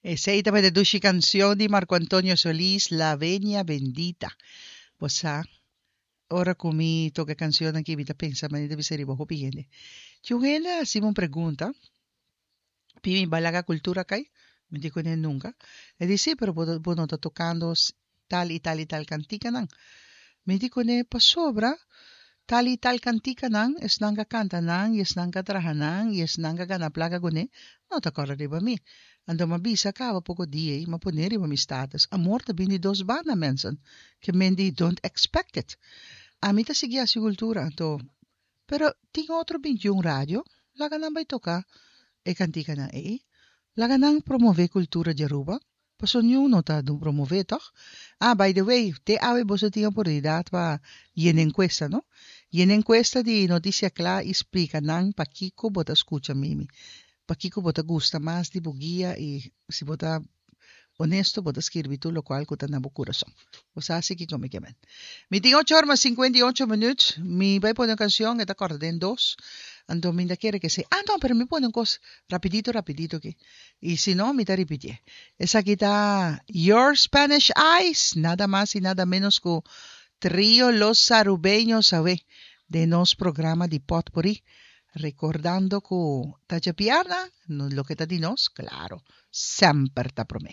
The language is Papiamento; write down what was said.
Esey tabata e dushi cancion di Marco Antonio Solís, La Venia Bendita. Bo sa, ora cu mi toca e cancion aki mi ta pensa manera ta bisa riba hopi hende. Tin un hende a haci mi un pregunta, Pimi ba laga cultura cay? Mi di cune nunca. E di si, pero bo bo no ta tocando tal y tal y tal canticanan. Mi di cune pasobra tal y tal canticanan esnan ca canta nan y esnan ca traha nan y esnan ca gana placa cune no ta corda riba mi. Anto m'a bisa caba poco dia ey, m'a pone riba mi status, amor ta bin di dos banda mensen, ke men di don't expect it. Ami ta sigui haci cultura, anto Pero tin otro bintiun radio, laga nan bai toca e canticanan ey, laga nan promove cultura di Aruba, paso niun no ta promove toch? Ah, by the way, te awe boso tin oportunidad pa yena encuesta no? Yena encuesta di Noticia Cla y splica nan pakico bo ta scucha Mimi, pakico bo ta gusta mas di bo guia y si bo ta Honesto bo ta skirbi tur lokual ku ta na bo kurason. Bo sa si kiko mi ke men. Mi tin ocho ora mas sinkuenta i ocho minüt. Mi bai pone un kanshon, e ta kòrta den dos. Anto mi ta kere ke si, ah no, pero mi pone un kos rapidito rapidito aki. I si no, mi ta ripitié. Esaki ta Your Spanish Eyes, nada mas i nada ménos ku Trio Los Arubeños awe den nos programa di Pòtpurrí. Rekordando ku ta djabièrnè, loke ta di nos, klaro, semper ta promé.